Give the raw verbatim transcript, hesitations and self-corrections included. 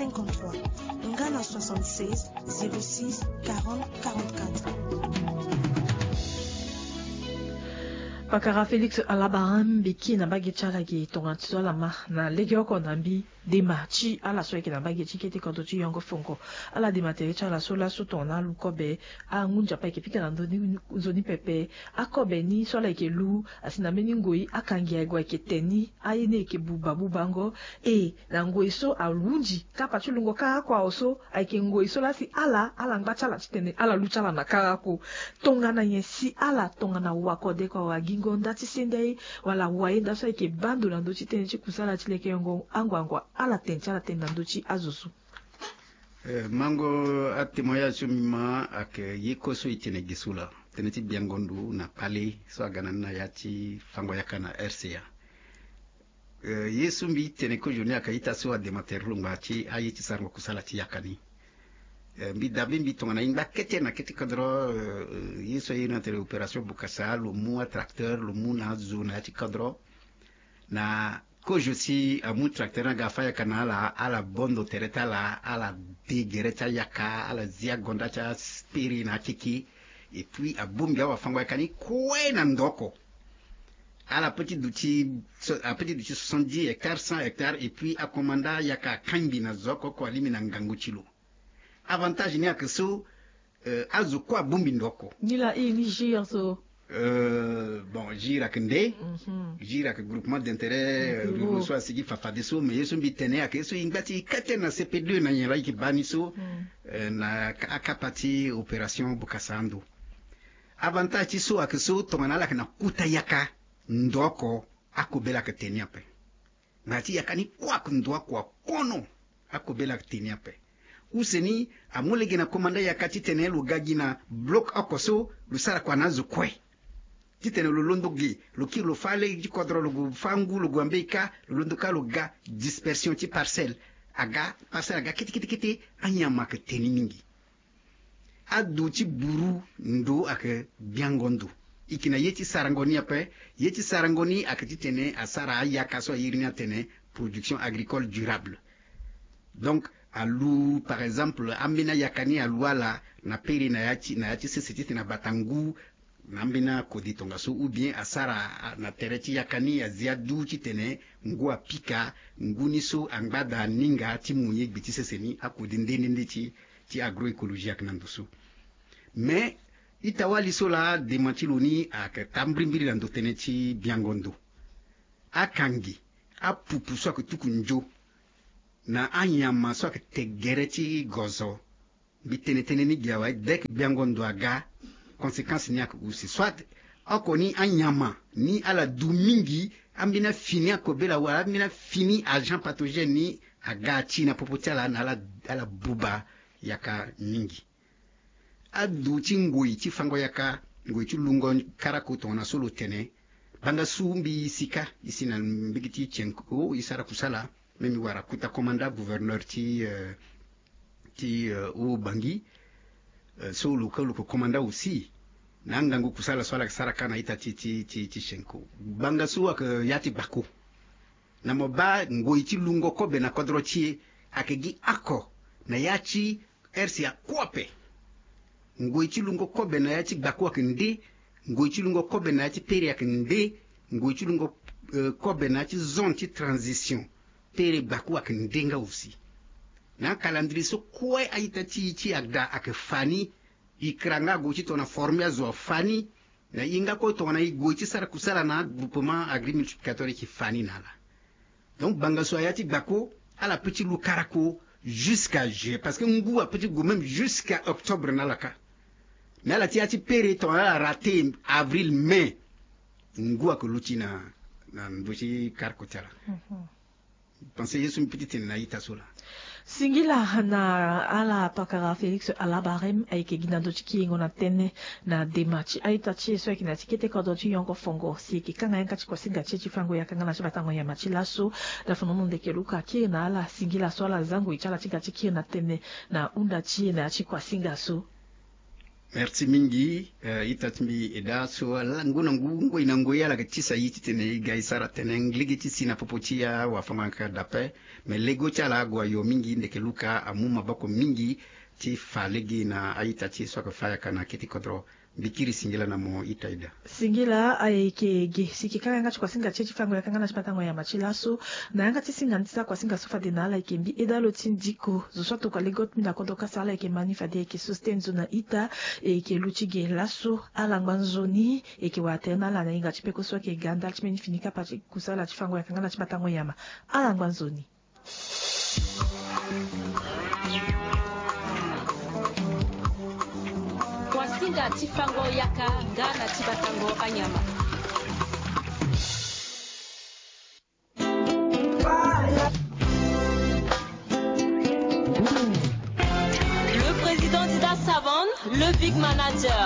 cinquante-trois, nga na soixante-seize, zéro six, quarante, quarante-quatre. Pakara Félix Alabaram mbi ki na mbage ti ala gi tongana ti so ala ma na lege oko na mbi dema ti ala so ayeke na mbage ti kete kodro ti yongo fongo. Ala dema tere ti ala so laso tongana alu kobe, angu nzapa ayeke pika na ndoni nzoni pepe. Akobe ni so ala yeke lu asi na mbeni ngoi akangi aye gue ayeke te ni aye ni ayeke buba bubango. E na ngoi so ahunzi kapa ti lungo kara oko awe so ayeke ngoi so lasi ala ala ngba ti ala titene ala lu ti ala na kara oko. Tongana nyen si ala tongana wakode kua wala gingo nda ti sende aye wala waye nda so ayeke baa ndo na ndö ti tënë ti kusala ti lekeyongo anguangu ala tene ti ala tene na ndö ti azo so? Eh, mango atémoignage so mbi ma ayeke ye kue so e tene ge so laa tënë ti biango ndo na kpale so aga na ni na ya ti fango yaka na R C A. Eh, ye so mbi tene kozo ni ayeke ita so adema tere lo ngba ti aye ti sarango kusala ti yaka ni. Eh, mbi dabe mbi tongana e ngba kete na kete kodro, eh, ye so aye na tere opération bokasa lo mu atracteur lo mu na azo na ya ti kodro. Na kozo si amu tracteur ni aga afa yaka na ala ala bondo tere ti ala ala de gere ti ayaka ala zi agonda ti aspiri na akeke. Et puis abongbi awafango yaka ni kue na ndo oko. Ala peut ti duti so- ala peut ti duti soixante-dix hectares, cent hectares, et puis akomanda yaka akangbi na zo oko oko alingbi na ngangu ti lo. Avantage ni ayeke so, eh, azo kue abongbi ndo oko. Ni laa e ni gir so. Eh, bon, gir ayeke nde. Mhm. Gir ayeke groupement d'intérêt, eh, ruraux so asigi fafadeso, mais ye so mbi tene ayeke ye so e ngba ti kete na C P deux na nyen laa e yeke baa ni so, eh, na ka- akapa ti opération bokasa ando. Avantage ti so ayeke so tongana ala yeke na kota yaka ndo oko, akobela ayeke te ni ape. Ngana ti yaka ni kue ayeke ndo oko akono, akobela ayeke te ni ape. Use ni amu lege na komanda yaka titene lo ga gi na bloc oko so lo sara kua na azo kue. Titene lo londo ge lo kiri lo fâ lege ti kodro lo gue fâ ngu lo gue ambeni kâ lo londo kâ lo ga dispersion ti parcelle. Aga parcelle aga kete kete kete. Anyama ayeke te ni mingi. Adu ti buru ndo ayeke biango ndo. E yeke na ye ti sarango ni ape. Ye ti sarango ni ayeke titene asara ayaka so a iri ni atene production agricole durable. Donc alu par exemple ambeni ayaka ni alu ala na pere na ya ti na ya ti sese titene abata ngu na ambeni akode tongaso ou bien asara na tere ti yaka ni azi adu titene ngu apika ngu ni so angba daa aninga ti mu ye gbe ti sese ni akode nde nde nde ti ti agroécologie ayeke na ndo so. Mais ita-wali so laa dema ti lo ni ayeke taa mbirimbiri na ndo tënë ti biango ndo. Akangi apupu so ayeke tuku nzo na anyama so ayeke te gere ti gozo. Mbi tene tënë ni gi awe dès que biango ndo aga conséquence ni ayeke use soit oko ni anyama ni ala du mingi ambeni afini akobela wala ambeni afini agent pathogène ni aga ti na popo ti ala na ala ala buba yaka mingi. Adu ti ngoi ti fango yaka ngoi ti lungo karako tongana so lo tene. Banga su mbi sika e si na mbege ti tienko e sara kusala. Me mbi wara kota komanda gouverneur ti eh, ti eh, o bangi eh, so lo ka lo ko komanda aussi na angangu kusala so ala yeke sara ka na ita ti ti ti ti tienko. Banga so ayeke ya ti gbako. Na mo baa ngoi ti lungo kobe na kodro ti e ayeke gi oko na ya ti R C A kue ape. Ngoi ti lungo kobe na ya ti gbako ayeke nde. Ngoi ti lungo kobe na ya ti pere ayeke nde. Ngoi ti lungo eh, kobe na ya ti zone ti transition pere gbako ayeke nde nga aussi. Na acalandrier so kue a-ita ti e ti ada ayeke fa ni. E kira nga ague ti tongana forme azo afa ni. Na e nga kue tongana e gue ti sara kusala na agroupement agrimultiplicateur e yeke fa ni na ala. Donc banga so aya ti gbako ala peut ti lu karako jusqu'à juin parce que ngu apeut ti gue même jusqu'à octobre na ala ka. Mais ala ti ya ti pere tongana ala rate avril mai ngu ake luti na na ndo ti karako ti ala. Pense ye so mbi peut ti tene na ita so laa. Singila na ala pakara Félix Alabarem ayeke gi na ndo ti kiringo na tënë na dema ti a-ita ti e so ayeke na ya ti kete kodro ti yongo fongo si e yeke kanga yanga ti kuasinga ti e ti fango yaka nga na ti batango nyama ti laso. Dafonono ndeke luka kiri na ala singila so ala zango e ti ala ti ga ti kiri na tënë na hunda ti e na ya ti kuasinga so. Merci mingi. Eh, ita ti mbi eda so ala ngu na ngu ngoi na ngoi ala yeke tisa ye titene e ga e sara tënë lege ti si na popo ti awafango-yanga dape. Me lego ti ala ague ayo mingi ndeke luka amu maboko mingi ti fa lege na a-ita ti e so ayeke fa yaka na kete kodro. Mbi kiri singila na mo ita eda. Singila ayeke ge si e yeke kanga yanga ti kuasinga ti e ti fango yaka nga na ti matango nyama ti laso. Na yanga ti singa ni ti sara kuasinga so fade na ala ayeke mbi eda lo ti ndiko zo so atokua lego ti mbi na kodro kasa ala ayeke ma ni fade ayeke so sten zo na ita. E yeke lu ti ge laso. Ala ngba nzoni. E yeke wara tënë na ala na hinga ti peko so ayeke ga ndali ti mbeni fini kapa ti kusala ti fango yaka nga na ti matango nyama. Ala ngba nzoni. Kuasinga ti fango yaka nga na ti batango anyama.